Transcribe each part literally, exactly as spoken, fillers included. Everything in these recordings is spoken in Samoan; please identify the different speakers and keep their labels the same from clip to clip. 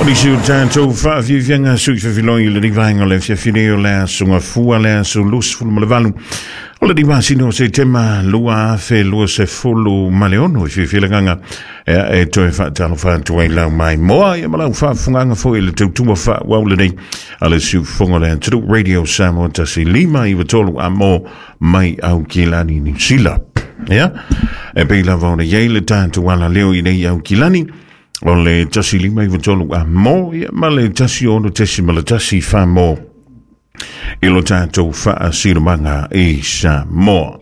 Speaker 1: Nisi o tātou whaafiafianga sui whawhiloi le rivaenga le fiafine o le aso fua le aso lusi fulu ma le valu. O le riwasino o se tema lua afe lua se fulu ma le ono i fiafilanganga e, e toe whaatalo whaatua i lau mai moa ia malau whaafunganga fo i le tautua whaawau le nei a le siufonga le Anturu Radio Samoa tasi lima i watolu a mo mai au kilani New Zealand. Ia, e pei lava ona iei le tātou ala leo i nei au kilani o le tasi lima i watolu a mo ia ma le tasi ono tesi ma le tasi wha mo i lo tātou whaasiramanga i Samoa.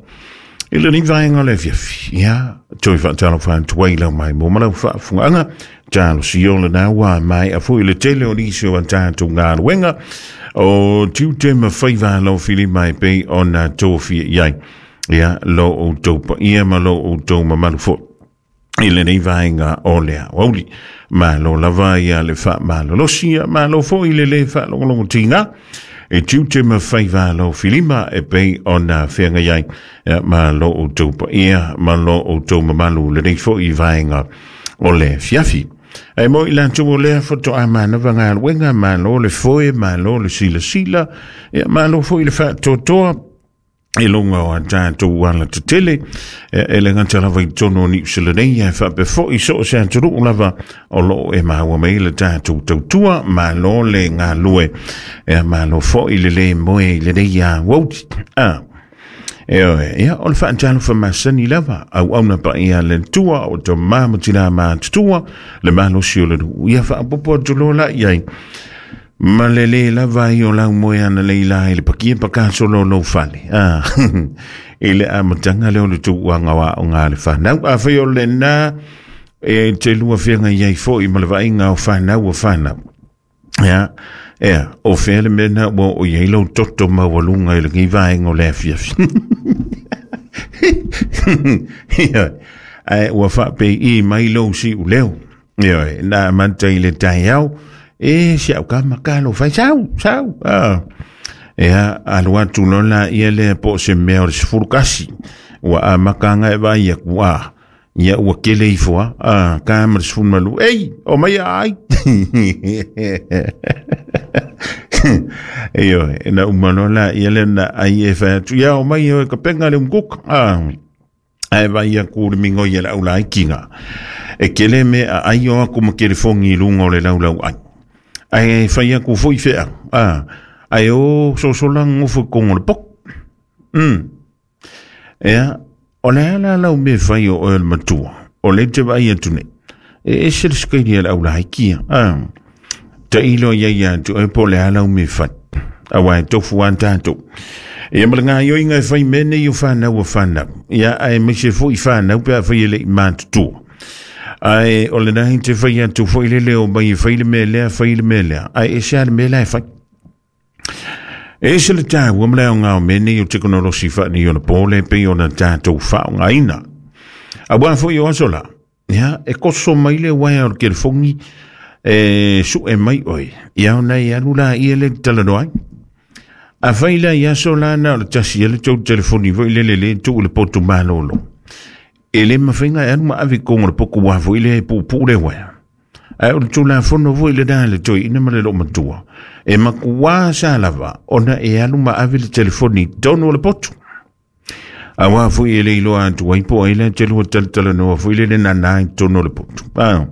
Speaker 1: I le nivaenga le fiafi, ia, toi whaatalo whaatuai lau mai mo malau whaafunganga, tālo si o le nā mai a fui le tele o nisi o a tātou ngā ruenga, o tiute ma whaiwa lau whili mai pei o nā tōwhia iai, ia, lo o tau pa ia ma lo o tau mamalu fo. I le nei vaenga o lea wauli. Malo lava ia le wha malo losia, malo fo i le le wha longolongo tinga, e tiute ma whaiwa lau whilima e pei o nā whenga iai, ma lo o tau pa ia, ma lo o tau mamalu le nei fo i vaenga o le fiafi. E mo i lantu o lea foto a manawa ngā luenga, malo le foe, malo le sila sila, ia malo fo i le whaatotoa, e longa o a tātou ala te tele, e le ngata lava i tono ni usila nei, e whape i so se aturu lava o lo e maua mei le tātou tautua, malo le ngā lue, e malo fo i le le moe i le nei a wauti. Ah. E oe, ia, o le whaantalo whamasani lava, au auna pa ia le tua, o te māmatina mātutua, le malo si o le nu, ia whaapopo atu la iai. Ma le le lava i o lau moe ana le ila i le pakia pakaso lo lo fale. Ah, i le amatanga le o le tuuanga wa o ngā le whanau. A whai o le nā e te lua whianga iai fo i ma le vainga o whanau o whanau. Ia, ea, o whea le mena o o iai lau toto mawalunga i le ngi vaenga o le afiafi. Ia, ai ua whape i mai lau si uleo. Ia, nā manta i le tai au. E si au ka makalo fai sau sau ah ea alu atu lola ia le po se mea o le sefulu kasi ua amakanga e vai aku a ia ua kele ifo a ah ka ma le sefulu malu ei o mai ai e oe na uma lola ia le na ai e fai atu ia o mai e ka penga le umkuka ah ai vai aku le mingo ia le aula ai kinga e kele me a ai o aku ma kele fongi lunga o le laulau ai ai fai aku foi fea ah ai o so so lang o foi kongo le pok mm ea o le ala lau me fai o el matua o le te vai atu nei e ese le skaili ala aula hai kia ah ta ilo ia ia tu e po le ala me fai awa e tofu an tātou ia ma le ngā ioi ngai fai mene i o whanau o whanau ia ai me se foi whanau pe a fai ele i mātutua ai o le nahi te whai atu fo i le leo mai whai le mea lea whai le mea lea ai e se a le mea lea e whai e se le tāua mleo ngā o mene i o teknolosi whaani o na pōle pe o na tātou whao ngā ina a wā fo i o aso la ia e koso mai le waia o le kerefongi e su e mai oi ia o nei alu la i ele talanoai a whai la i aso la na o le tasi ele tau telefoni fo i le le le tu le potu malolo e le mawhainga e anu ma avi kongo le poko wafo i le pupu le wea. Ai o le tūla fono fo i le dā le toi ina ma le lo matua. E makuā sa lava ona e anu ma avi le telefoni tonu o le potu. A wā fo i le iloa atu waipo ai le te lua talatala noa fo i le le nana i tonu o le potu. Ah.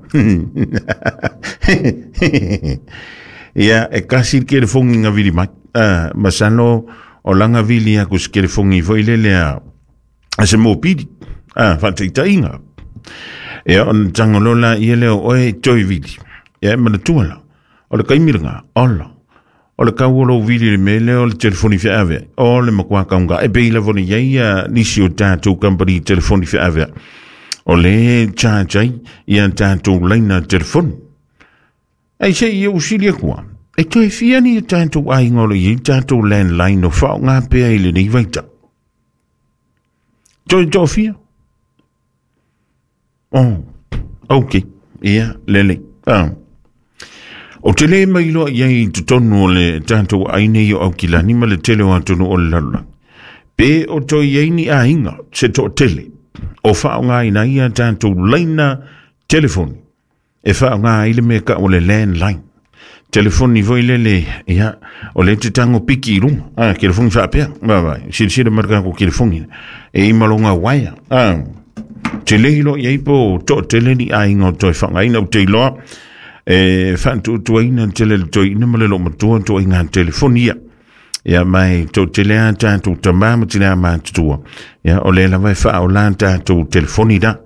Speaker 1: Ia e kasi le kelefongi ngā vili mai. Ah, masano o langa vili aku se kelefongi fo i le lea a se mōpiri. Ah, whataitainga. Ea, o na tangolola ia leo oe toi vili. Ia, e mana tuala. O le kaimiranga, ola. O le kauolo vili le mele o le telefoni whiaavea. O le makua kaunga. E peila voni iai a nisi o tātou company telefoni whiaavea. O le charge ai ia tātou laina telefoni. Ei se ia usili akua. E toi whiani e tātou ai ngolo i tātou landline o whao ngā pea i le nei vaita. Toi tō whia. Oh, ok. Ia, lele. Ah. O te le mai loa ia i te tonu o le tātou aine i o aukilani ma le tele o atonu o le lalula. Pe o toi iei ni a inga, se to tele. O whao ngā ina ia tātou laina telefoni. E wha ngā ile me ka o le landline. Telefoni foi lele, ia, o le te tango piki i runga. Ah, telefoni whaapea. Vai, vai, sirisira marka ko telefoni. E imalonga waia. Ah, te lehilo i aipo to tele ni ainga o toi whangaina o te iloa. E whantutuaina tele le toi ina male lo matua toi ngā telefoni ia. Ia mai tō tele a tātou tamā ma tele a mātutua. Ia, o le lava e wha o la tātou telefoni da.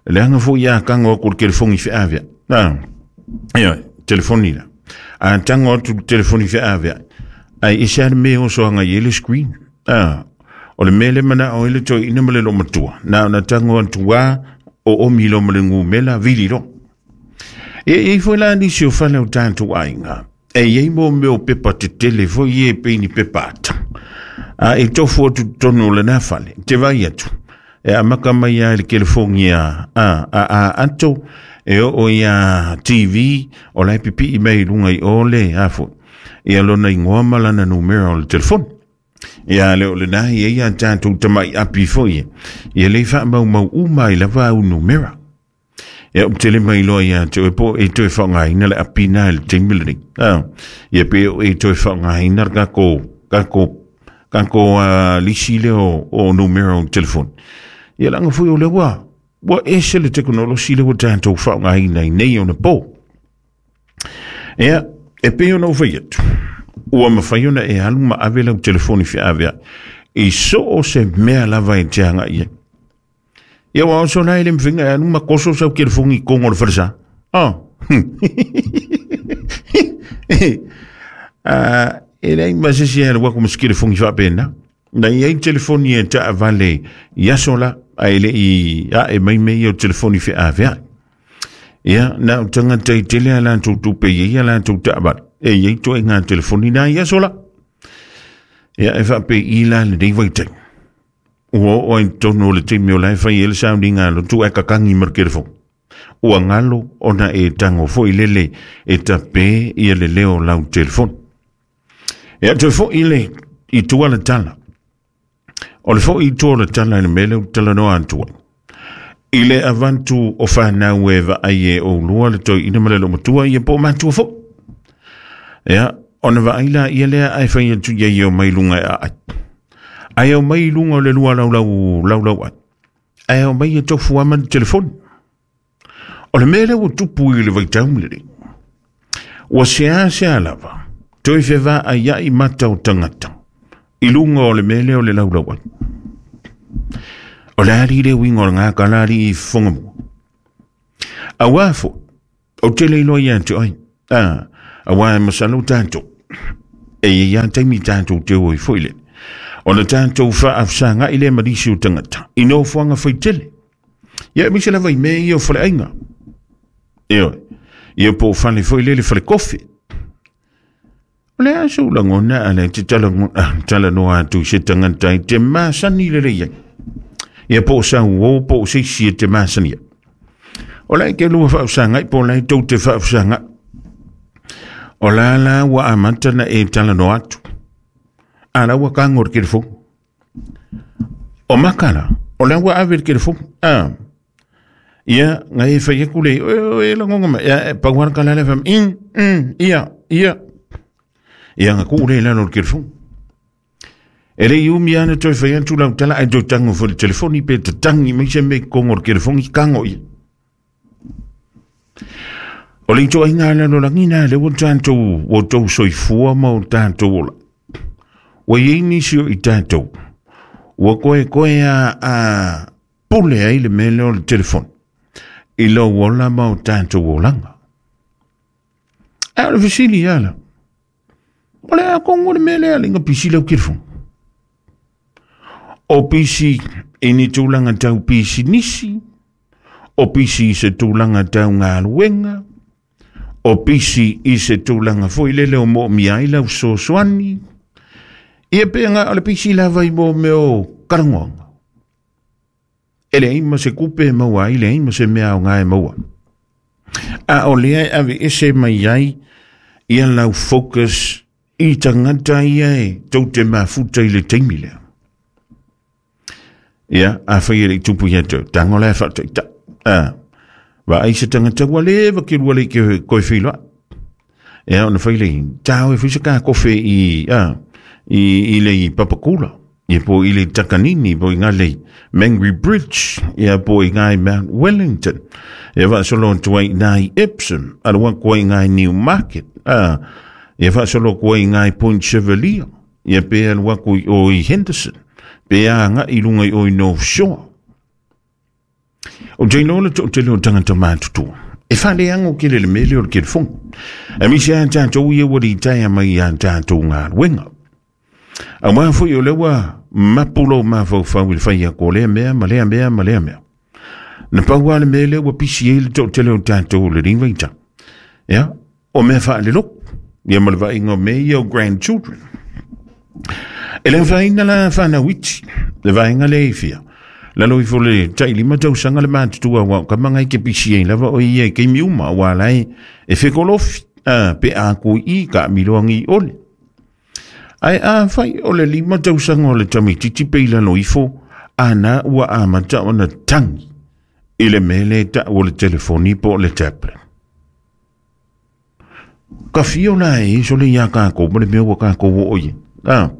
Speaker 1: Le anga fo ia kango aku le telefoni whiawia. Ah, ia, telefoni da. A tango atu telefoni whiawia. Ai isi a le mea o soanga i ele screen. Ah, o le mea le mana o ele toi ina male lo matua. Na, na tango atu wā o omi lo male ngumela vili ro. E e foi la nisi o whale o tātou ainga. E iei mo meo pepa te tele foi e peini pepa ata. A e tofu atu tonu le nā whale. Te vai atu. E a maka mai a le telefongi a, a, a, a ato. E o o ia T V. O lai pipi i mei lunga i ole a fo. E alona ingoa malana numero o le telefoni. Ia le o le nahi e ia tātou tamai api foi e. Ia le wha mau mau uma i lava au numera. Ia um tele mai loa ia te oe po e toe whangaina le apina le teimilini. Ah, ia pe o e toe whangaina kako, kako, kako uh, lisi le o, o numero o telefoni. Ia langa fui o le wā, wa ese le teknolosi le wa tātou whangaina i nei o na pō. Ia, e pe o na uwhai atu. Ua mawhai ona e alu ma ave lau telefoni whiawea. I so o se mea lava e te hanga ia. Ia wa oso lai le mwhinga e anu ma koso sau kelefongi kongo le wharsa. Oh. Ah, e lei masesi e wako mas kelefongi whapena. Na i telefoni e ta avale i aso la a ele i a e mai mei o telefoni whiawea. Ia, na o tangata i tele a lantou tupe i a lantou ta avale. E i toi ngā telefoni na i aso la. Ia e whape i la le nei waitai. Ua o ai tono le te meo lai whai ele sauni ngā lotu e kakangi mar kerefo. Ua ngalo ona e tango fo i lele e tape i le leo lau telefoni. E atu fo i le i tua le tala. O le fo i tua le tala i le mele o tala noa antua. I le avantu o whanau e va ai e o lua le toi ina male lo matua i e po matua fo. Ia, ona va aila ia lea ai whai atu ia i o mai lunga e ai. Ai o mai lunga o le lua lau lau lau lau ai. Ai o mai e tofu ama le telefoni. O le mele ua tupu i le vaitaumle. Ua sea sea lava. Toi whewa ai ai mata o tangata. I lunga o le mele o le lau lau ai. O le ari le wingo o ngā kalari i whangamua. A wafo, o te leilo ia te ai. Ah, a wā masalo tātou. E ia taimi tātou te oi foile. O le tātou whaafsanga i le marisi o tangata. I no whanga whai tele. Ia misa lava i mea ia o whale ainga. Eo, ia po whale foile le whale kofi. O le aso langona a le te tala, tala noa atu se tangata i te masani le lei. Ia po sa o po se si te masani. O le ke lua whaafsanga i po lai tau te whaafsanga. O la la wa amata na e tala noa atu. Ala ua kango le kelefo. O makala, o la ua ave le kelefo. Ah. Ia, ngai e whai aku le, o e la ngonga ma, ia, pauara ka lale wham, in, in, ia, ia. Ia nga ku le lalo le kelefo. E le iumi ana toi whai atu lau tala, ai toi tango fo le telefoni pe te tangi mai se me kongo le kelefo i kango ia. O le ito ai ngā lalo langina, le ua tātou, o tau soifua ma o tātou ola. Ua iei nisi o i tātou. Ua koe koe a, a pule ai le mele o le telefoni. I lau ola ma o tātou olanga. A o le fisili ala. O le a kongo le mele ala inga pisi lau telefoni. O pisi i ni tūlanga tau pisi nisi. O pisi i se tūlanga tau ngā luenga. O pisi i se tūlanga foi lele o mo mia i lau sosoani. Ia pe ngā o le pisi lava i mo meo karangoanga. E le ima se kupe maua, i le ima se mea o ngā e maua. A o lea e ave ese mai ai, ia lau focus i tangata ia e tau te mafuta i le teimi lea. Ia, a whai e le tupu ia tau, tango lea whatai ta. A, Va ai se tangata ua leva ke lua le ke koe whiloa. Ia ona fai le tau e fisa ka kofe i, a, i, i le Papakula. Ia po i le Takanini, po i ngā le Mangere Bridge, ia po i ngā Mount Wellington. Ia faasolo atu ai ngā i Epsom, alu atu ai ngā i Newmarket. A, ia faasolo atu ai ngā i Point Chevalier. Ia pe alu atu i o i Henderson. Pe a ngā i lunga i o i North Shore. O te lola to te leo tangata mātutua. E whale ango ke le mele o le kelefonga. E misi a tātou ia wari taia mai a tātou ngā ruenga. A wā fui o lewa mapulo mawhauwhau i le whai a ko lea mea, ma lea mea, ma lea mea. Na paua le mele ua pisi e le tō te leo tātou le ringwaita. Ia, o mea wha le loko. Ia ma le vainga me ia o grandchildren. E le whaina la whanau iti, le vainga le e whia. Lalo ifo le tailima tausaga le matutua wa ka mangai ke pisi ai lava o ia ke miuma wa lai e fekolofi a pe a ku i ka miloangi ole. Ai a fai o le lima tausaga o le tamititi pe i lalo ifo ana ua amata ona tangi i le mele ta o le telefoni po o le tablet. Ka fio la e so le ia kākou ma le mea ua kākou o oie. A,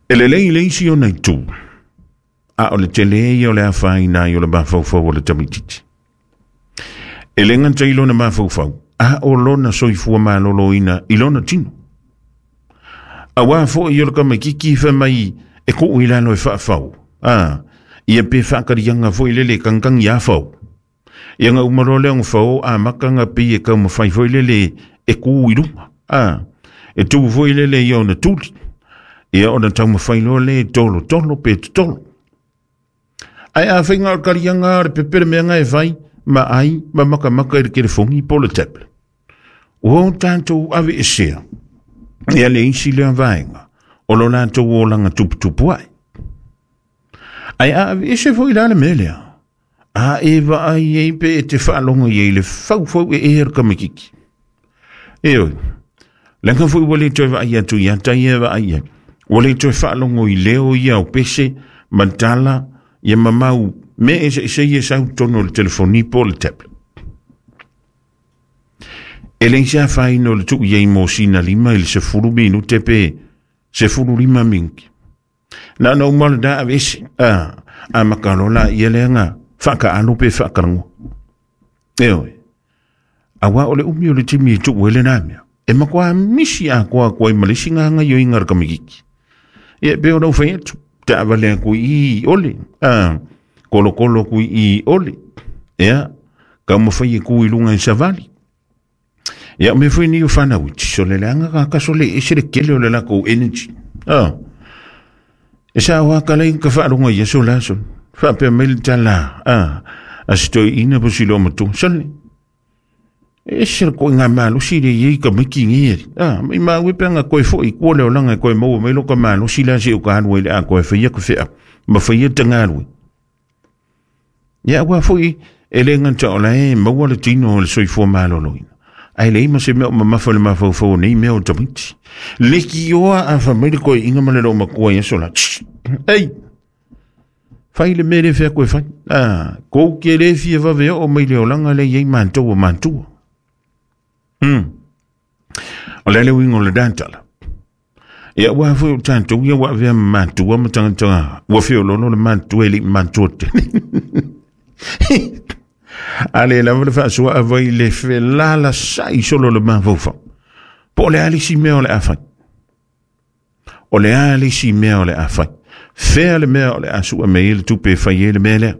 Speaker 1: e lelei le isi ona i tū. A o le tele ia o le awhaina i o le mafaufau o le tamititi. E le ngata i lona mafaufau, a o lona soifua malolo ina i lona tino. A wā fo i o le kamakiki i whamai e ko i lalo e whaafau. A, ia pe whakarianga fo i lele kangkang ia whau. Ia ngā umaro leo ngā whau a makanga pe e kau mawhai fo i lele e ku i runga. A, e tū fo i lele i ona tuli. Ia ona tau mawhai loa le tolo tolo pe tolo. Ai a whainga o karianga o le pepere mea ngai whai, ma ai, ma maka maka i le kelefongi po le tablet. O tātou ave e sea, ia le isi lea vaenga, o lo lātou o langa tuputupu ai. Ai a ave e se fo i la le melea, a e va ai e pe e te whaalongo i e le fau fau e e her kamakiki. E oi, langa fo i wale toi va ai atu ia tai e va ai e, wale toi whaalongo i leo ia o pese, mantala, ia mamau, me e se ia sau tono le telefoni po le tablet. E le isa whaino le tuu ia i mōsina lima i le sefulu minute pe sefulu lima minki. Na na umala da avese, a, a makalola ia leanga whaka alo pe whakarango. E oe, a wā o le umi o le timi e tuu ele nā mea. E makoa misi a koa koa i malisi ngā ngā yo i ngara kamikiki. Ia pe o nau whai atu. Ta awalea kui i ole, a, kolo kolo kui i ole, ea, ka mawhai e kui lunga i savali. Ia, me fui ni o whanau iti, so le leanga ka kaso le ese le kele o le lako energy. A, e sa hoa ka lei ka whaalunga ia so la so, whaapea mai le tala, a, a sitoi ina po silo matu, sole, ese le koe ngā malosi le iei ka miki ngi a, mai maui pe ngā koe fo i kua leo langa koe maua mai lo ka malosi la se o ka halua i le a koe whaia ka whea, ma whaia te ngā alue. Ia ua fo i, e le nganta o la e maua le tino o le soifua malolo ina. Ai le ima se mea o mamafa le mafaufau nei mea o tamiti. Le ki oa a whamai le koe inga ma le lo makua ia sola. Ei! Whai le mele whea koe whai. A, kou ke le fia vave o mai le olanga le iei mantua mantua. Hmm. O le le wingo le dantala. Ia ua fo o tātou ia ua vea mantua ma tangata. Ua feo lono le mantua e li mantua te. Ale lava le faasua avai le felala sai solo le mafaufau. Po o le a le isi mea o le a fai. O le a le isi mea o le a fai. Fea le mea o le a sua me i le tupe e fai e le mea lea.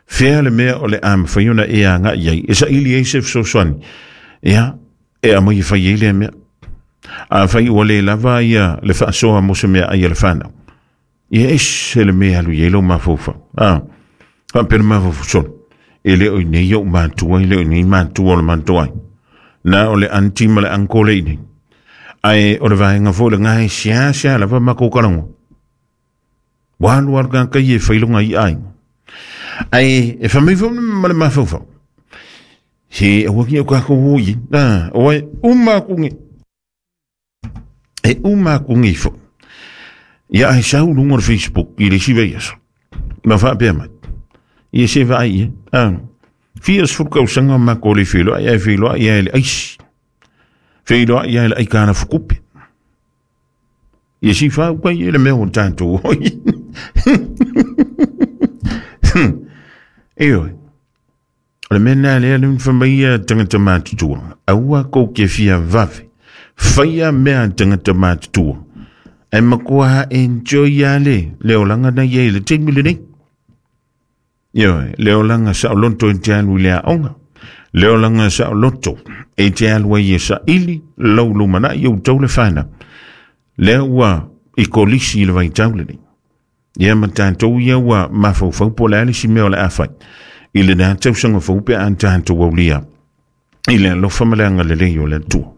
Speaker 1: Fea le mea o le a mawhai ona e a ngā iai. E sa ili e se fesoasoani. Ia, e a mai e fai e lea mea. A fai ua le lava ia le faasoa mo se mea ai a le whanau. Ia ese le mea alu i e lo mafaufau. A, whaapea le mafaufau solo. E le oi nei o mātua, e le oi nei mātua o le mātua ai. Nā o le anti ma le anko le nei. Ai o le vaenga fo le ngai sia sia lava mako karango. Walu alu ka kai e whailonga i ai. Ai e whamei fo ma le mafaufau. He awa ki au kako oi. Nā, o ai uma kungi. E uma kungi fo. Ia ai sau lunga o le Facebook i le siwa iaso. Ma whaapea mai. Ia se vai ia. Ah, Fia sefulu tausaga o makou le feiloai ae feiloai ai le aisi. Feiloai ai le aikana fukupe. Ia si fau kai e le mea o tatou oi. Ioe. O le mea lena lea le fai tagata matutua. Aua kou ke fia vave. Faia mea tagata matutua. Ae matua enjoy a le le olaga na ia i le taimi lenei. Ioe, le olaga saoloto e te alu i le aoga. Le olaga saoloto e te alu ai e saili lau lumanai ou tau le fanau. Lea ua i kolisi i le vaitau lenei. Ia ma tatou ia ua mafaufau po o le a le isi mea o le a fai. I lena tausaga fou pe a tatou aulia i le alofa ma le agalelei o le Atua.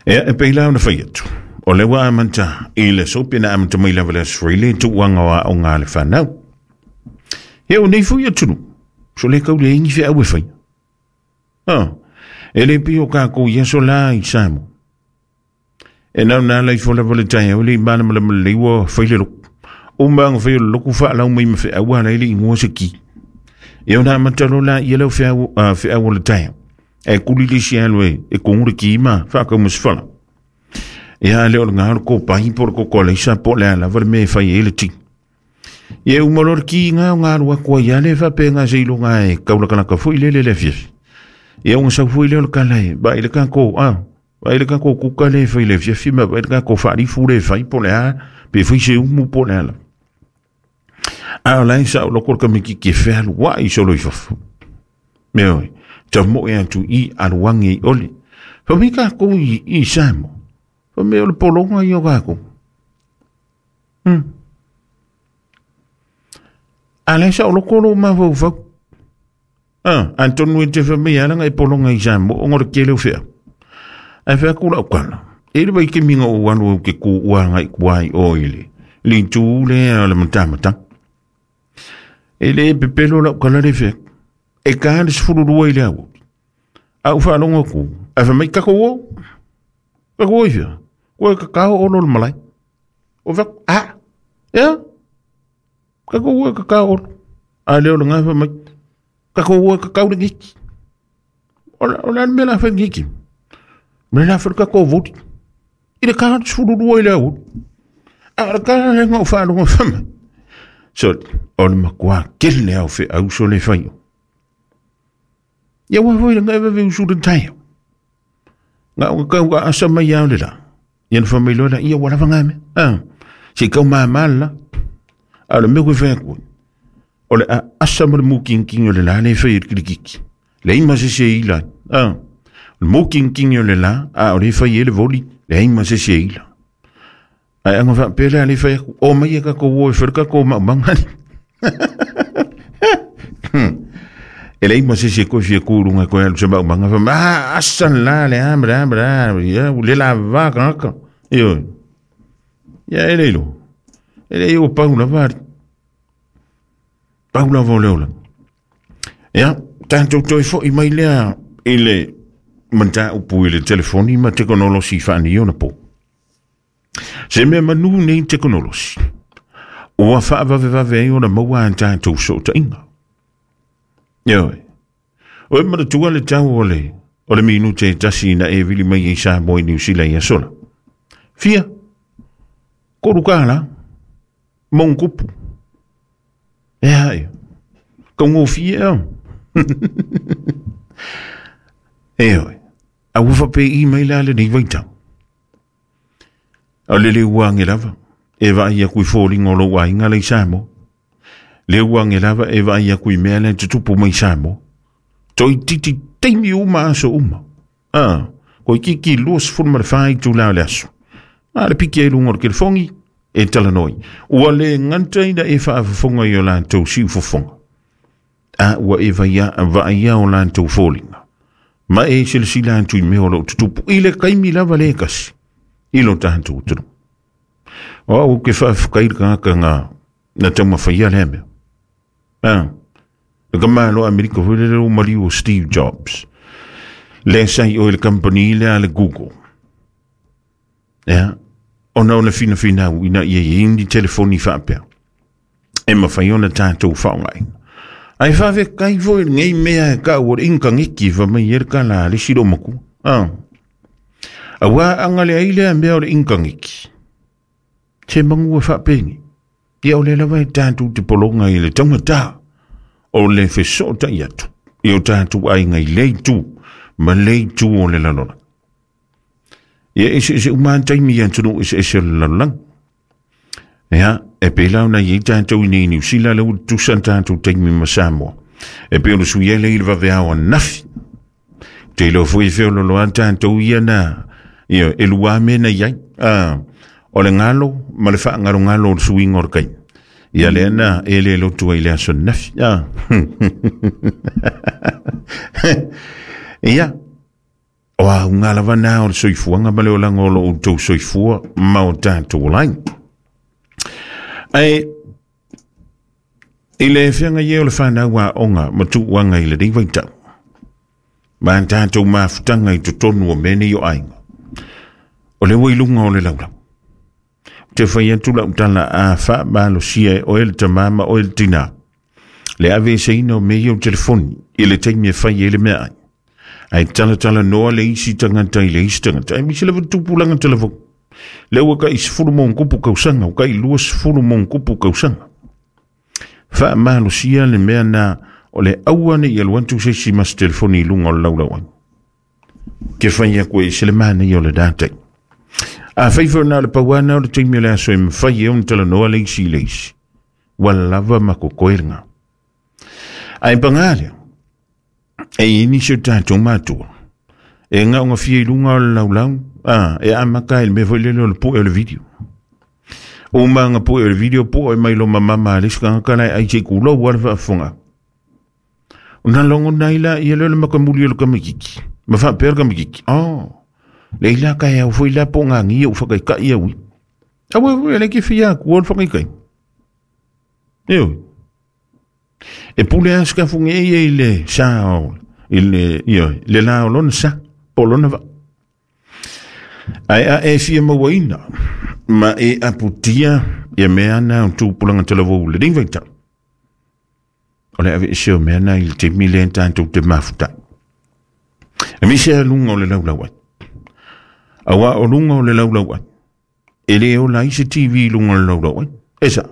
Speaker 1: Ea e pei la ona fai atu. O le ua amata i le aso pe na amata mai lava le aso Faraile tuuaga o aoga a le fanau. Ia o nei foi atunuu, so le kau le ingi feau e fai. Ah, e le pei o kākou i aso la i Samoa. E nau nā lai fo lava le taeao le i malamalama lelei ua fai le loku. O maanga fai o le loku faalau mai ma feau ala i le ingoa se ki. E ona amata lo la ia leo feau, uh, feau o le taeao. E kuli le isi alu e, e kongu le ki ma whaakau ma se fala. Ia le o le ngā o le kōpahi po le koko aleisa po le ala lava le mea e fai e le ti. Ia uma lo le ki ngā o ngā lua kua ia le whape ngā se ilo ngā e kaulakalaka fui le le le fiafi. Ia unga sau fui le o le kala e, ba i le kako, ah, ba i le kako kuka le fai le fiafi ma ba i le kako whaarifu le fai po le a, pe fai se umu po le ala. A o lai sa o loko le kamiki ke whealu wa i solo i fafo. Mea oi, ta mo e atu i aluangi i ole. Fa mi kako i, i Samoa. Fa me o le polonga i o kako. Hmm. A lai sa o loko lo mafaufau. Ah, Antonu e te fa me alanga e polonga i Samoa o ngore ke leo whea. Ai whea kula o kala. E le vai ke minga o alu au ke ku uanga i kuai o ile. Li tū le a le matamata. E le pepelo lau kala le whea. E ka le sefulu lua i le au. A u whaalonga ku. A wha mai kako o. Kako o i whea. Koe kakao olo le malai. O whea, ah, ea. Kako o e kakao olo. A leo le ngā wha mai. Kako o e kakao le ngiki. O la le mea la wha ngiki. Me la wha kako o voti. I le ka le sefulu lua i le au. A le ka le ngā u whaalonga wha mai. So, o le makua kele au whe au so le whai o. Ia ua foi le ngai vave usu le taio. Ngā o kau ka asa mai au le la. Ia na whamai loa la, ia wala whangai me. Ah, se kau maa maa la. A le mea koe whai koe. O le a asa ma le mūkingingi o le la le whai e kilikiki. Le ima se se ila. Ah, o le mūkingingi o le la, a o le whai e le voli, le ima se se ila. Ai anga wha pele a le whai aku, o mai e kako o e whai kako o maumangani. E le ima se se koe fia kūrunga koe alu se maumanga wha, ah, asa la le a, bra, bra, ia, le la vaka aka. Io, ia e leilo. E le o paula vari. Paula vo leola. Ia, tātou toi fo i mai lea i le manta upu i le telefoni ma tekonolosi whaani ona po. Se mea manu nei tekonolosi. Ua whaavave ai ona maua an tātou so tainga. Ioe. O e manatua le tau o le, o le minute e tasi na e vili mai i Samoa i Niu Sila i asola. Fia, koru kāla, mongkupu. E hai, ka ngō fia au. E oe, a ua whape i mai la le nei vaitau. A le le uange lava, e vai aku i fōlinga o lou ainga lei Samoa. Le uange lava e vai aku i mea le tutupu mai Samoa. Toi titi teimi uma aso uma. Ah, koi kiki lua sefulu ma le whai tū lao le aso. A le piki e lunga o le kelefongi, e talanoi. Ua le nganta ina e whaafafonga i o lātou siu fofonga. A ua e vaia, vaia o lātou fōlinga. Ma e silasila atu i mea o lou tutupu. I le kaimi lava le kasi. I lo tātou tunu. O au ke whaafkai le kangaka ngā na taumawhaia le mea. Ah, le ka malo Amerika foi le leo maliu o Steve Jobs. Le sai o le company le a le Google. Ea, ona ona fina fina au ina ia i ni telefoni whaapea. E mawhai ona tātou whaongai. Ai faafekai foi i lenei mea e kau o le inkaniki fa mai e le kala a le isi loomatua. A auā aga le ai lea mea o le inkaniki se magu e faapeni. Ia o le lava e tatou te pologa i le taugatā o le fesootaʻi atu i o tatou aiga i le itu ma le itu o le lalolagi. Ia eseese uma taimi i atunuu eseese o le lalolagi. Ia, e pei la ona iai tatou i nei Niusila le ua tutusa tatou taimi ma Samoa. E pei o le sui ai lea i le vaveao anafi. Te iloa foi e feololoa tatou ia na, ia, e lua mea na iai. Ah, o le galo ma le faagalogalo o le suiga o le taimi. Ia lea na e le lotu ai i le aso anafi. Ah. Ia, o auga lava na o le soifuaga ma le olaga o loo outou soifua ma o tatou olaga. Ae i le feaga ia o le fanau aoga ma tuuaga i lenei vaitau, ma tatou mafutaga i totonu o mea nei o aiga, o le ua i luga o le laulau. Te fai atu lau tala a faamalosia e oe le tamā ma oe le tinā, le aveeseina o mea ia o telefoni i le taimi e fai ai le meaai. Ae talatala noa le isi tagata i le isi tagata. Ae misi lava tupulaga talavou. Le ua kai sefulu ma ona kausaga, ua kai lua sefulu ma ona kausaga. Faamalosia le mea na o le aua nei alu atu se isi ma se telefoni i luga o le laulau ai. Ke fai aku e se le manaia o le datai. A fai foi na o le pauana o le taimi o le aso e mafai e ona talanoa le isi i le isi. Ua lava ma kokoe lena. Ae pagā lea, e i nisi o tatou matua, e gaogafia i luga o le laulau, a, e amata ai le mea foi lele o le pu'e o le video. Uma aga pu'e o le video, pu'e mai lo mamama a le isi tagata lae ai se i kulou a le faafofoga. Ona logona ai laia lea o le makamuli o le kamakiki, ma faapea le kamakiki, oh, le ila ka e au foi la po ngā u whakaikai au i. Aua foi le ke fia aku o le whakaikai. Eo. E pule a skafunge e i le sa o, i le, io, le la o lona sa, po lona va. Ai a e fia mauaina, ma e aputia ia mea na o tupulaga talavou le lenei vaitau. O le aveese o mea na i le taimi lea tatou te mafutai. E misi a luga o le laulau ai. Auā o luga o le laulau ai, e le ola ai se T V i luga o le laulau ai. E sa.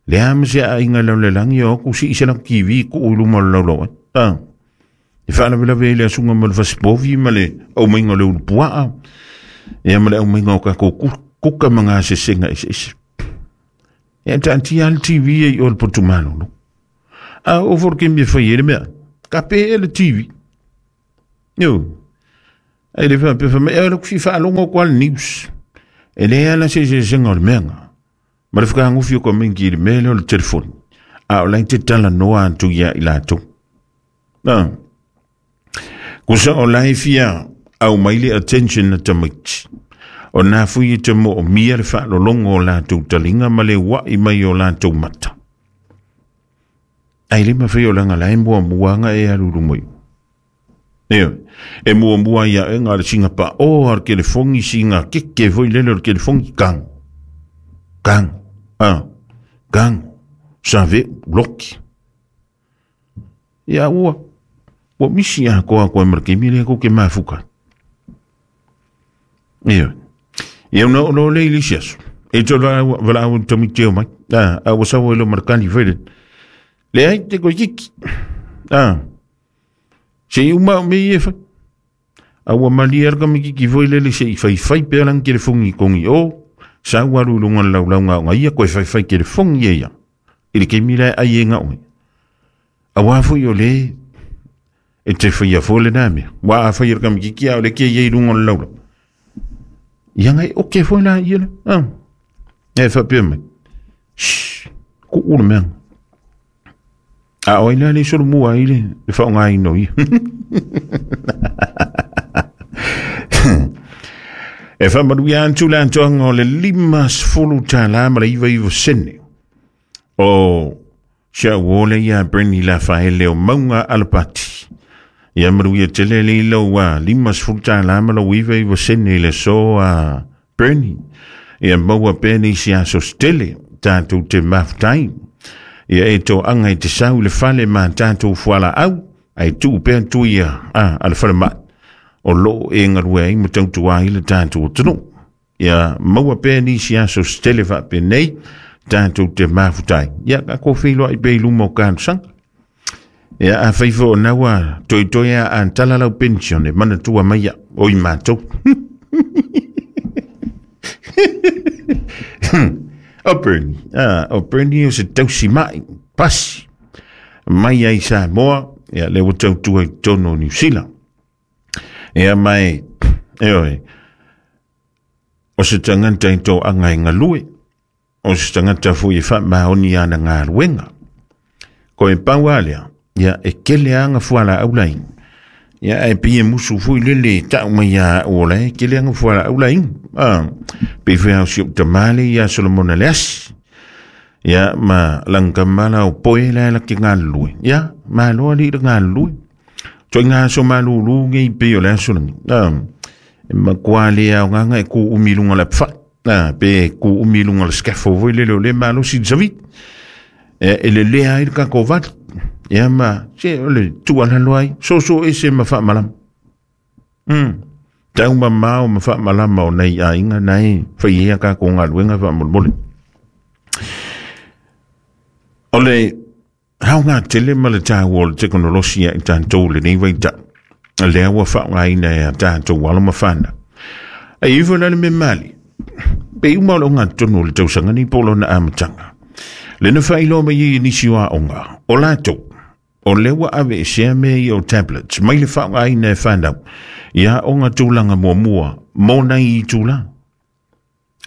Speaker 1: Le a ma se aiga i laulelagi o aku sii se lau T V kuu i luma o le laulau ai. Ah. E faalavelave ai le asuga ma le fasipovi ma le aumaiga o le ulupuaa, ia ma le aumaiga o kakou kuka ma gasesega eseese. Ia taatia le T V ai o le potumalolo. A o fo le kemi e fai ai le mea, ka pe e le T V. Io. Ai le faapea fai mai, e le kusi faalogo ko le news. E le ala se sesega o le meaga. Ma le whakaangofi o ka mingi i le mea lea o le telefoni. A o lai te talanoa atu ia i latou. Ah. Kusa o lai fia au mai le attention na tamaiti. O nā fui e te mo o mia le whaalolongo o latou talinga ma le wai mai o latou mata. Ai le mawhai o langa lai mua muanga e alulu mai. Eo, e mua mua ia e ngā le singa pa o ar kelefongi singa keke foi lele o le kelefongi kang. Kang. Ah, kang. Save, loki. Ia ua, ua misi a koa koe marke mile ko ke mafuka. Eo, ia una o le ilisi aso. E tō wala au tami teo mai. Ah, a ua sawa ilo markani whaere. Le ai te koe kiki. Ah, se i uma o me i e whai. A ua mali arka me kiki foi lele se i whai whai pea lang kelefongi kongi o. Sa ua alu lunga lau lau ngā ia koe whai whai kelefongi e ia. I le kemi lae ai e ngā oe. A wā foi o le e te whai a fo le nā mea. Wā a whai arka me kiki a o le kia i lunga lau lau. Ia ngai oke foi la ia le. Ah. E whapea mai. Shhh. Ku ula mea. A oi la le solo mua i le le whaonga ino ia. E whamaru ia antu le antoanga o le lima sefulu tālā ma le iwa iwa sene. O sia uole ia Brenny la whaele o Maunga Alapati. Ia maru ia tele le ilo a lima sefulu tālā ma le iwa iwa sene le so a Brenny. Ia maua pene isi aso stele tātou te mafutai. Ia e toaga i te sau i le fale ma tatou fualaau ae tuu pea tui a, a le falemai o loo e galue ai ma tautua ai le tatou atunuu. Ia maua pea nisi aso se tele faapenei tatou te mafutai. Ia tatou feiloai pea i luma o talosaga. Ia afai foi o na ua toetoe a tala lau pension e manatua mai ia o i matou. O Bernie, ah, o Bernie o se tausi mai, pasi, mai ai Samoa, ia le ua tautua i totonu o Niu Sila. Ia mai, e oe, o se tagata i toaga e galue, o se tagata foi e faamaoni ana galuega. Ko e pau a lea, ia e kele anga fualaau laina. Ia e pei e musu foi lele tau mai ia au o lae, kele anga fualaau laina. Ah, pe foi au si o tamale ia Solomona le asi. Ia ma langamala o poe la la ke galue. Ia ma loa li le galue. Toi ngā so malulu ngei pe o le aso langi. Ah, e makua le au nganga e ku umi lunga la pfa. Ah, pe ku umi lunga la scaffold foi lele o le malo si zavit. E, e le lea ai le kako vali. Ia ma, se o le tuala loai, so so e se ma whaamalama. Mm. Tau mamao ma whaamalama o nei a inga nei, whai ea ka ko ngā luenga whaamolmole. O le hau ngā tele ma le tāu o le teknolosia i tātou le nei waita. Le aua whaongaina e a tātou alo ma whana. Ai iwa lale me mali. Pe uma o le ngā tonu o le tausanga ni polo na amatanga. Le na whailoa mai i nisi o aonga. O lātou, o lewa ave e sea mea i o tablets, mai le whaongaina e whanau, ia aonga tūlanga mua mua, mōna i tūlanga.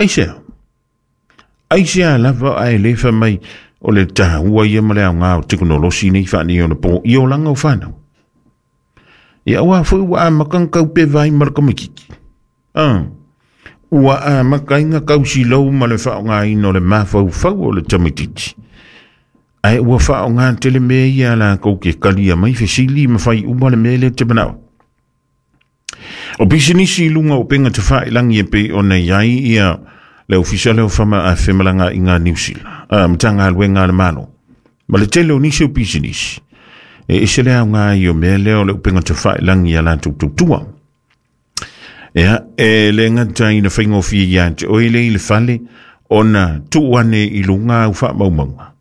Speaker 1: Ai sea. Ai sea lava ai le wha mai o le tāua ia ma le aonga o teknolosi nei whaani o le pō i o langa o whanau. Ia ua fui ua a makang kau pe vai ma le kamakiki. Ah. Ua a makainga kausi lau ma le whaongaina o le mawhauwhau o le tamatiti. Ai ua whaonga tele mea ia la kou ke kalia mai fesili ma whai uma le mea le te manao. O pisinisi lunga o penga te whaelangi e pe o nei ai ia le ofisa leo whama a whemalanga i ngā Niu Sila. A matanga alwenga le malo. Ma le tele o nisi o pisinisi. E ese lea o ngā i o mea leo le upenga te whaelangi a la tautua. Ia, e le ngata ina whaingofia ia te oile i le fale o na tuane i lunga au whaamaumaunga.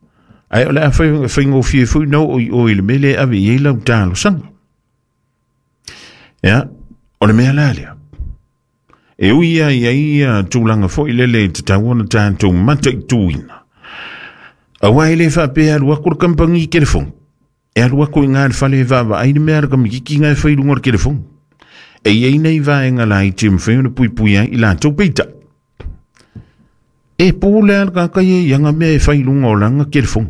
Speaker 1: Ai o le a whaingofia fui nau o i oile mele ave i lau tālo sanga. Ia, o le mea la lea. E ui ia ia ia tūlanga foi lele i te tauana tātou mata i tūina. Awa e le whapea alu aku le kampangi i kelefong. E alu aku i ngā le fale e vaava ai le mea le kamikiki ngā e whailunga le kelefong. E iei nei vaenga la i te mwheo na pui pui ai i lātou peita. E pōle al kakai e ianga mea e whailunga o langa kelefong.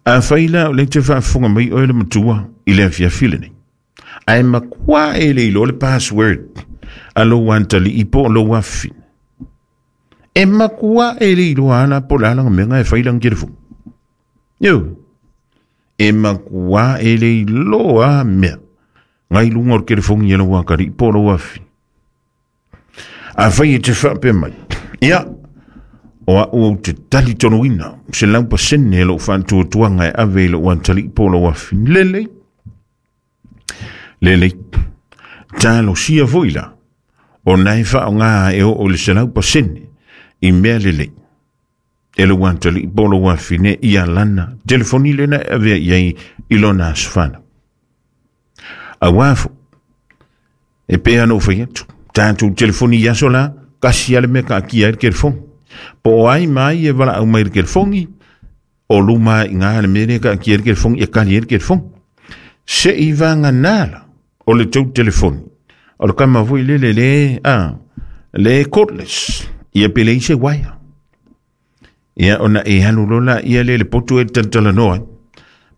Speaker 1: A whaila o le te whaafonga mai oe le matua i le afiafile nei. Ai makua e le ilo le password a lo wantali i po lo wafi. E makua e le ilo ala po la langa mea e whailanga kelefong. Yo. E makua e le ilo a mea. Ngai lunga o le telefongi e lau akari po lau afi. A whai e te whape mai. Ia, o a o te tali tonuina, se lau pasene e lau whantuatuanga e ave i lau antali po lau afi. Lele. Lele. Tālo sia foi la. O nai whaonga e o o le se lau pasene i mea lele. E lau antali po lau afi ne ia lana. Telefoni lena e ave i i lona asfana. A wafo, e pea no whai atu, tātou telefoni i aso la, kasi ale mea ka akia e le kelefoni. Po o ai mai e wala au mai le kelefoni, o luma i ngā le mea ka akia e le kelefoni, e kali e le kelefoni. Se i vanga nala o le tau telefoni, o le kama vui le le le, a, le cordless, ia pele i se waia. Ia ona e halu lola, ia le le potu e tantala noa.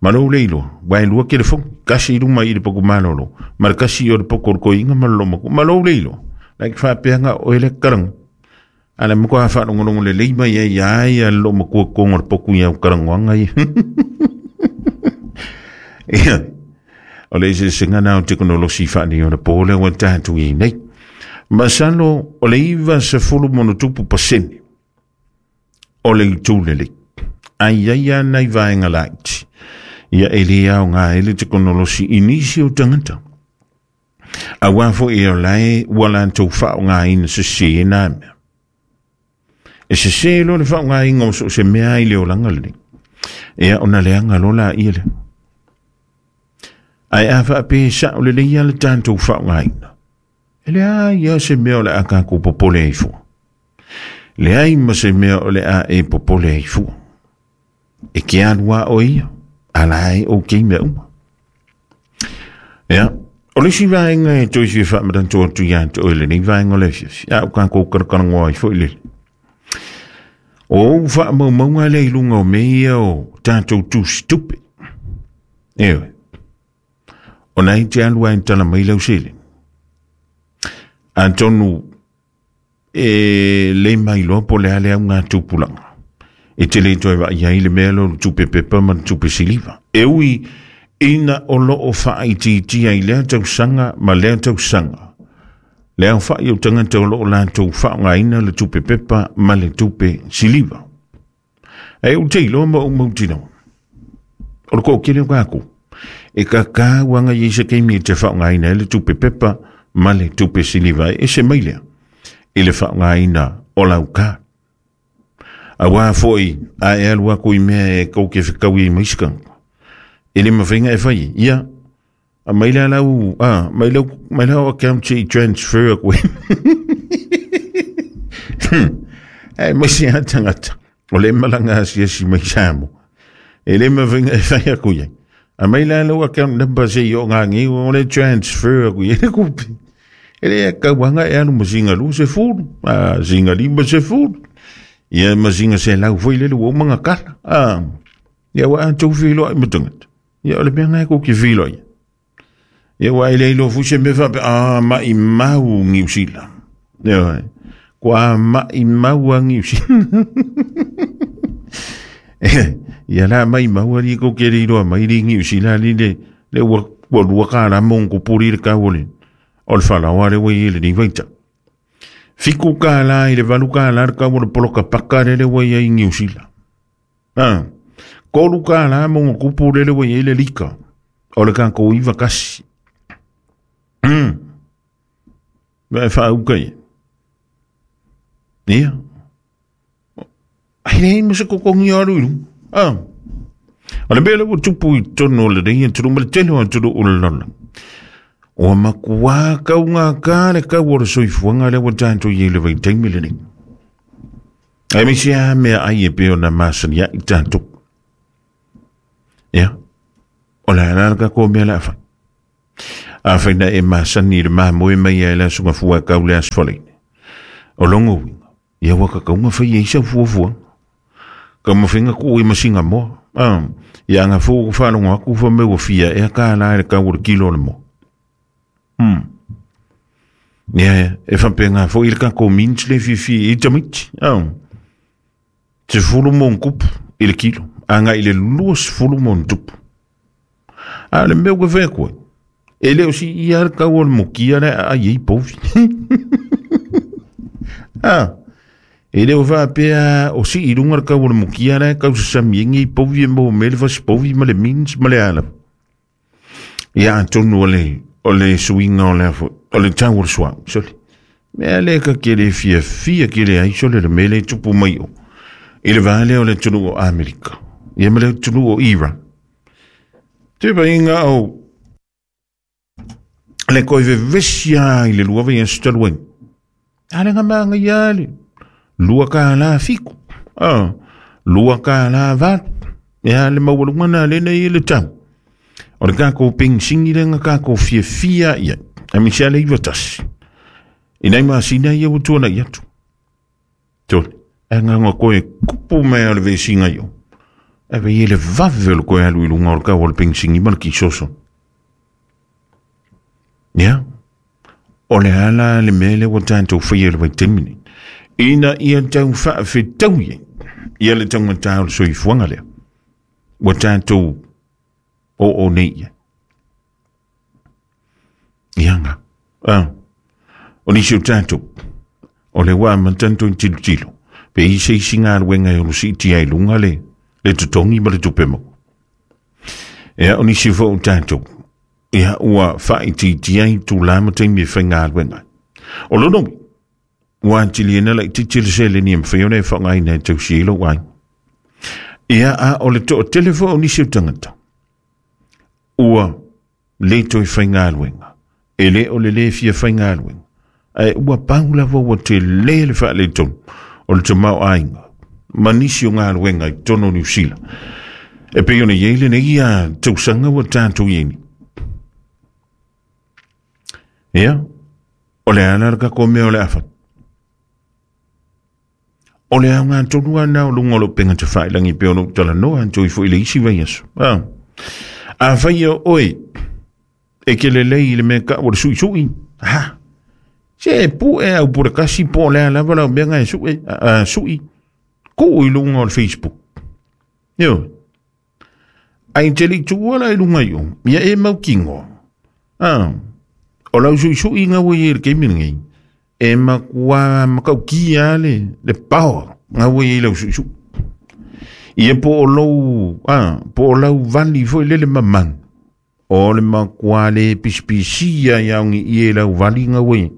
Speaker 1: Malo le ilo, wai lua kelefoni, kasi luma i le poko malolo, ma le kasi o le poko o inga malolo mako, malo le ilo, like whapeanga o ele karanga. Ala moko a whalongolongo le leima ia ia ia lo makua kongo le poku ia o karangoanga ia. Ia, o le ese senga o teknolosi whaani o le pōle o tātou i nei. Masalo o le iwa se fulu monotupu pasene o le itulele. Ai ai a nai vaenga laiti. Ia e le au ngā ele te konolosi inisi o tangata. A wafo e o lae ua lantou whao ngā ina se se nā mea. E se se lo le whao ngā inga o so se mea i le o langa le. Ea ona leanga lola ia le. Ai a wha pe sa o le leia le tantou whao ngā ina. E le a ia se mea o le a kako popole ai fua. Le ai ma se mea o le a e popole ai fua. E ke alua o ia. Ala ai o kei mea uma. Ea, o le si vaenga e toi fia whaamarantua tu ia te oile nei vaenga le fia. A o kako karakarangoa ai fo i lele. O whaamaumaunga le ilunga o mea o tātou tūsi tupe. Ewe. O nei te alua e tala mai lau sele. Antonu e le mai loa po le ale au ngā tupulanga. E te le toi vai ai le mea lo tupe pepa ma tupe siliva. E ui ina o lo o whaititia i lea tausanga ma lea tausanga. Lea whai o tangata o lo o lātou whaonga ina le tupe pepa ma le tupe siliva. E u te iloa ma o mautino. O le kōkele o kākou. E kākā wanga i se keimi e te whaonga ina le tupe pepa ma le tupe siliva e se mailea. I le whaonga ina o lau kā. A wā foi a e alua ko i mea e kau ke whikau i maiskanga. E le mawhenga e whai. Ia, a maila lau, a, maila, maila account i transfer koe. E maisi a tangata. O le malanga asiasi mai samo. E le mawhenga e whai aku ia. A maila lau account number se i o ngā ngi, o le transfer aku ia. E le kupi. E le kauanga e anu masinga lu se fulu. A, singa lima se fulu. Ia masinga se lau foi lele ua manga kala. A, ia wa antou whiloa i matangata. Ia o le mea ngai ko ki whiloa ia. Ia wa ele ilo fuse me whape, a mai mau ngiu sila. Ia ko a mai mau a ngiu sila. Ia la mai mau ari ko ke iloa mai ri ngiu sila li le, le ua, ua lua ka la mongo puri le kawole. O le whalawa le wai ele ni waita. Fiku ka la i le valu ka la le kawole poloka paka le le wai ai ngiu sila. Ah. Kolu ka la mongo kupu le le wai ai le lika. O le kako iwa kasi. Mm. Vai whaauka ia. Ia. Ai nei masa kokongi aru iru. Ah. O le mea ua tupu i tono le rei turu ma le tele o turu o le lala. O makua kau ngā kā le kau o le soifuanga le ua tātou i le vai taimi le nei. Ai misi a mea ai e peo na masani a i tātou. Ia. O le ala ka ko mea la awhai. A whaina e masani le mamoe mai a e la sunga fua kau le asfaleine. O longo winga. Ia waka kaunga whai e isa fua fua. Ka mawhenga ku i masinga moa. Ah, ia nga fō whalongo aku wha me fia e ka la e ka o le kilo le moa. Hmm. Ia e whampenga fō i le kako mints le fifi i tamiti. Ah. Te fulu mo nkupu i le kilo. Anga i le luas fulu mo ntupu. A le mea ua whea koe. E leo si ia le kau o le mokia le a iei povi. Ah. E leo whapea o si i runga le kau o le mokia le kau sasami engi i povi e mo mele fasi povi ma le mins ma le ala. Ia antonu o le, o le suinga o le afo, o le tau o le sua, sole. Mea le ka kere fia fia kere ai sole le mele tupu mai o. I le vale o le tunu o Amerika. Ia ma le tunu o Iran. Te painga o le koe vevesia i le lua vai astaluen. Ale nga manga ia le. Lua ka la fiku. Ah, lua ka la valu. Ia le maualunga na le nei le tau. O le kako pingsingi le nga kako fia fia ia. A misia le iwa tasi. I nei masina ia utua na iatu. Tole. E nga nga koe kupu mea o le vesinga io. E vei ele vave o le koe alu i lunga o le kau o le pingsingi ma le kisoso. Ia. O le ala le mele ua tātou whai le vai temine. Ina ia tau whaawhitau ia. Ia le taungata o le soifuanga lea. Ua tātou o o nei ia. Ia nga. Ah. O nisi o tātou. O le wā mantanto i tilo tilo. Pe i se isi ngā ruenga e olo si tia i lunga le. Le totogi ma le tupe maua. Ia o nisi foi o tatou, ia ua faaitiitia i tulaga ma taimi e faigaluega ai. O lona uiga, ua atili laitiiti le seleni e mafai ona e faaaogaina e tausi ai lou aiga. Ia a o le toatele foi o nisi o tagata, ua le toe faigaluega, e le o le lē fia faigaluega, ae ua pau lava ua telē le faaletonu o le tamaoaiga ma nisi o galuega i totonu o Niu Sila. E pei ona i ai lenei ia tausaga ua tatou i ai nei. Ia, o le ala le tatou mea o le a fai. O le aoga tonu lava lena o luga o lou upega tafailagi pei ona ou talanoa atu ai foi i le isi vaiaso. A, afai o oe e ke lelei i le mea kau o le suisui, ha, se pue au po le kasi po o le a lava lau mea nga e sue, a, sui, tuu i luga o le Facebook. Ioe. Ai te le tuua la i luga i o, ia e mautinoa. A, o lau suisui nga ua i le taimi lenei, e matua matautia le, le power nga ua i lau suisui. Ia po o lou, a, po o lau vali foi lele mamanu. O le matua le pisipisia ia ongi i e lau vali nga ua i.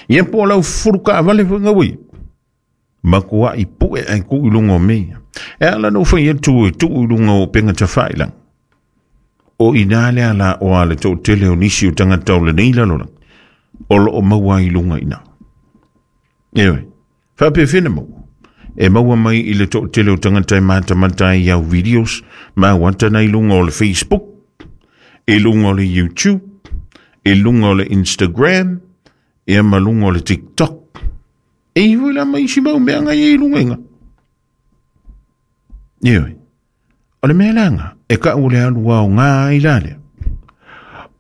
Speaker 1: Ia po o lau fulu kaavale foi nga ua i. Matua i pue ai tuu i luga o mea. E ala na ufai atu e tuu i luga o upega tafailagi. O ina le ala o a le toatele o nisi o tagata o lenei lalolagi, o loo maua ai i luga i ina. Ioe, faapefea maua. E maua mai i le toatele o tagata e matamata ai i au videos ma au ata na i luga o le Facebook, i luga o le YouTube, i luga o le Instagram, ia ma luga o le TikTok. E i foi la ma isi mau mea nga i luga i nga. Ioe, o le mea laga, e kau le alu ao ngā ai la lea.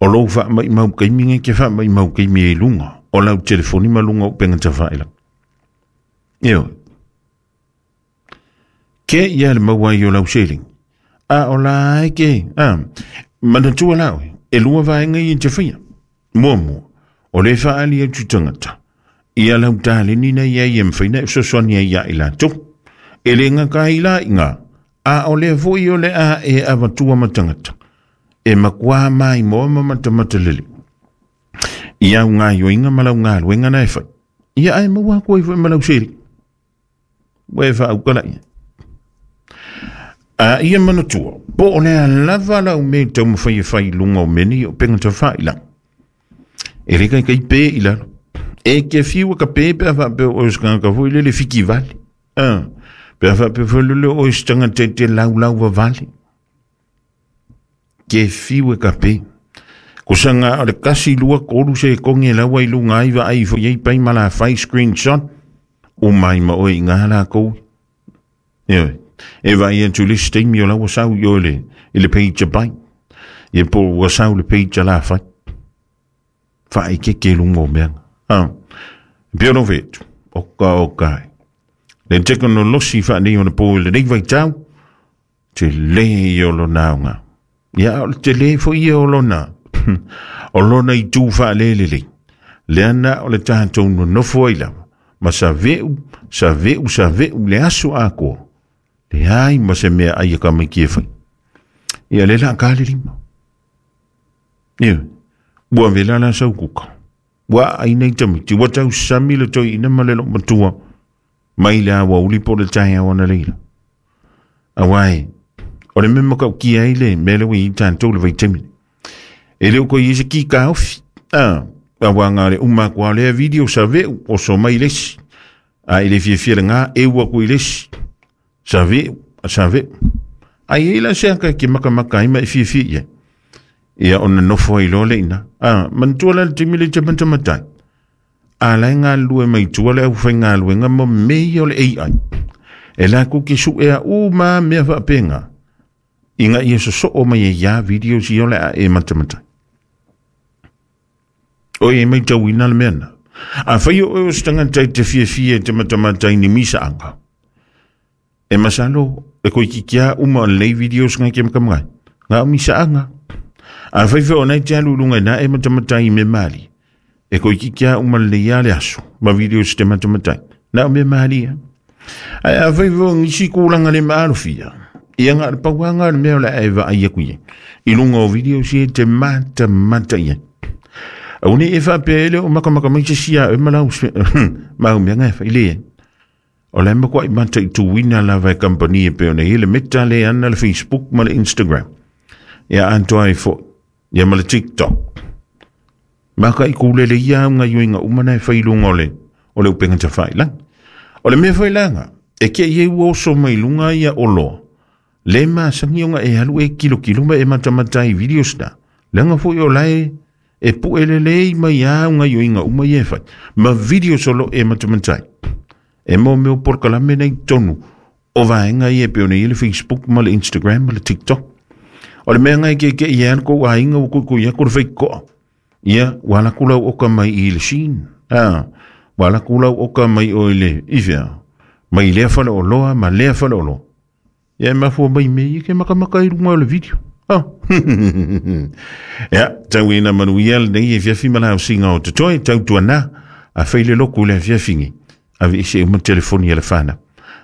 Speaker 1: O lou faamaimau kaimi ngai ke faamaimau kaimi e i luga, o lau telefoni ma luga o upega tafailagi. Ioe, ke ia le maua ai o lau seleni. A o la ai ke, a, manatua la oe, e lua vaega ia e te faia. Muamua, o le faaali atu tagata, ia lau taleni na ia i e mawhai na e fesoasoani ai ia i latou. E le ngaka ai la i ngā, a o lea foi o le a e avatua ma tagata, e matua mai moa ma matamata lele. I au ngā ioinga ma lau galuega na e fai. Ia ai maua aku ai foi ma lau seli. Ua e faaukala ia. A ia manatua, po o lea lava lau mea taumafai e fai i luga o mea nei o upega tafailagi. E le kaikai pe i lalo. E ke fiu e ka pe pe a faapea o oe o se tagata foi lele fiki vale. A, pe a faapea foi lele o oe o se tagata e te laulau vavale. Ke fiu e ka pe. Kusaga o le kasi lua tolu sekoge e laua i luga ai vaai foi ai pai ma la fai screenshot o mai ma oe i ngā lakou. Ioe, e vaai atu le isi taimi o la ua sau i o le, i le page a pai. Ia po ua sau le page a la fai. Faaikeke i luga o mea. Ah, pei ona ou fai atu, oka oka e. Le tekonolosi faanei ona po i lenei vaitau, telē ia o lona aoga. Ia o le telē foi ia o lona, o lona itu faalelelei. Lea na o le tatou nonofo ai lava, ma saveu, saveu, saveu le aso atoa. Leai ma se mea ai e tamaiti e fai. Ia le la ka le lima. Ia, ua vela la sau kuka. Ua ai nei tamaiti, ua tausami le toeaina ma le loomatua, mai le aoauli po o le taeao ana leila. Auā e, o le mea matautia ai le mea lea ua i ai tatou i le vaitaimi nei. E le o toe i ai se ki taofi. A, auā na o le uma atu lava o lea video saveu, oso mai le isi. A i le fiafia lena, eu atu i le isi. Saveu, saveu. Ai e i ai la se aka e ke makamaka ai ma e fiafia i ai. Ia ona nofo ai loa le ina. A, manatua la le taimi le te matamatai. A la e galulue mai tua le aufaigaluega ma mea ia o le A I. E latou ke suea uma mea faapena. Ina ia sosoo mai ai ia videos ia o le a e matamatai. O e maitauina le mea na. Afai o oe o se tagata e te fiafia e te matamatai ni misaaga. E masalo e toeitiiti lava uma o lenei videos ngai ke matamai. Nga o misaaga. Afai foi o nai te alu i luga i na e matamatai i mea malie. E toeitiiti lava uma lelei lava le aso ma videos te matamatai. Na o mea malie. Ai a fai fo ngisi kulanga le maalofia. Ia nga le pauanga le mea o le ae vaai aku ia. I lunga o video si e te mata mata ia. Au ni e whaapea ele o makamaka mai se sia e malau mau mea ngai whai le. O le ma kwa i mata i tuwina lava e kampani e peo nei le Meta le ana le Facebook ma le Instagram. Ia antoa e fo. Ia ma le TikTok. Maka i kulele ia unga yuinga umana e whai lunga o le o le upenga ta whai lang. O le mea whai langa, e kia ie ua oso mai lunga ia o loa. Le masangi onga e halu e kilo kilo ma e matamata i videos na. Langa fo i o lae e pu elele i mai a unga yuinga uma i e whai. Ma videos o lo e matamatai. E mo meo porkalame nei tonu o vaenga i e peo nei le Facebook ma le Instagram ma le TikTok. O le mea ngai ke ke ia ko ainga o ku ia ko le whai koa. Ia, wala kulau oka mai i le sin. Ah, wala kulau oka mai o ile ifea. Mai lea whale o loa, ma lea whale o loa. Ia, mafua mai me i ke makamaka i runga o le video. Ah. Ia, tau ina manuia le nei e fiafi malau singa o te toi, tau tuana, a whaile loku le fiafingi. Ave ise uma telefoni a le whana.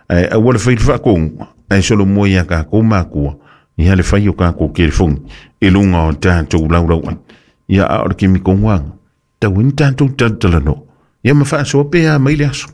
Speaker 1: Ai, a wala whaile whakongu, ai solo mua ia ka kō mākua, ia le whai o ka kō kerefoni, e lunga o tātou lau lau ai. Ia a o le kimi konguanga. Tau ina tātou tautala no. Ia ma whaasoa pēa mai le aso.